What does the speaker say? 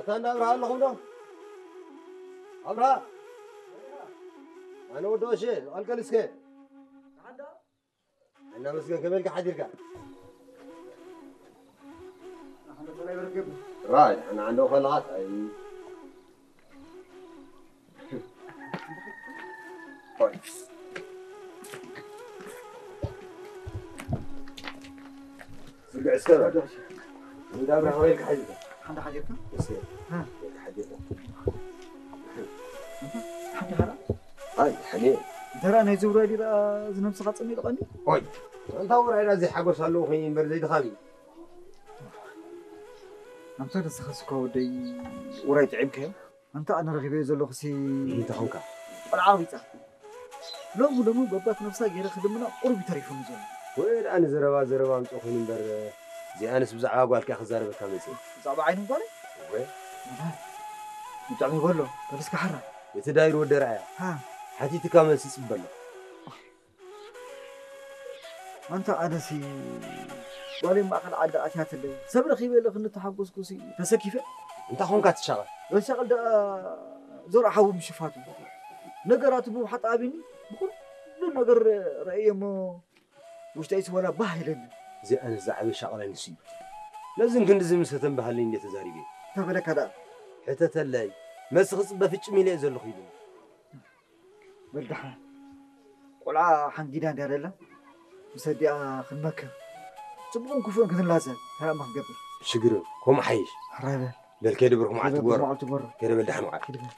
እንዳ ኣብርሃ ኣለኹም ዶ? ኣብርሃ፣ ኣነ ወዲ ኦሼ፣ ዝቐልቀል እስከ። እናመስገን፣ ከመይ ኢልካ ሓዲርካ? ራይ፣ ኣነ ዓንዶ ከለኻት፣ ኣይ። ስርግዕ እስከ በል። እንዳ ኣብርሃ ከመይ ኢልካ ሓዲርካ? ሓንዳ ሓዲርካ? እስከ። ሓዲርካ። ሓንዳ ሓራ? ኣይ፣ ሓኒ። ደራ ናይ ዝውራይ ዲራ ዝነብስኻ ጸሚልቐኒ? ኦይ፣ ኣንታ ውራይና ዘይሓጎስ ኣለዎ ኮይኑ እምበር ዘይድኻም እዩ። ኣንታ ንስኻስ እኮ ወደይ ውራይ ጥዒምካዮ? ኣንታ ኣነ ረኺበዮ ዘለኹሲ እንታይ ኾንካ? ቆልዓ ኣውሪጻ። ሎሚ ሎሚ በባት ነብሳ ገይረ ክልምና ቁሩብ እዩ ተሪፉኒ ዘሎ። ወይ ደኣ ንዘረባ ዘረባ ኣምጽኦ ኮይኑ እምበር፣ እዚኣንስ ብዛዕባ ጓልካ ክዛረበካ መጽእ። ብዛዕባ ዓይኒ ጓለይ? ወይ? ብጣዕሚ በሎ፣ በልስካ ሓራ። እቲ ዳይር ወዲ ርኣያ። ሃ። ሓቲትካ መልሲ ጽበሎ። ኣንታ ኣነሲ ጓለይ ማእኸል ዓዲ ኣትያትለይ። ሰብ ረኺበ ኢለ ክንተሓጎስኩሲ ተሰኪፈ። እንታይ ኾንካ ትሻቐል? ዘሻቐል ደኣ ዞር ሓዊ ምሽፋቱ። ነገራቱ ብውሓጥ ኣቢኒ ብኹሉ ነገር ረእየ እሞ ውሽጠይሲ ወላ ባህ ኢለኒ። እዚ ኣነስ ዝዓበየ ሻቕላይ ንሱ እዩ። ነዝን ክንድዚ ምስ ተተንበሃለይ እንዴ ተዛሪበ? ተበለካ ደኣ። ሕተተለይ፣ መልሲ ክጽበ ፍጭም ኢለ እየ ዘለኹ ኢሉኒ። በል ደሓን። ቆልዓ ሓንጊዳ እንድያ ደላ፣ ምስ ኣዲኣ ክንመክር። ጽቡቕን ክፉእን ክንላዘብ፣ እንታይ እሞ ክንገብር? ሽግር፣ ከምኡ ሓይሽ። ሕራይ በል። በል ከይደ ብርኩም ዓቲ በል ጎሮ። ብርኩም ዓቲ ጎሮ። ከይደ በል ደሓን ውዓል። ከይደ በል።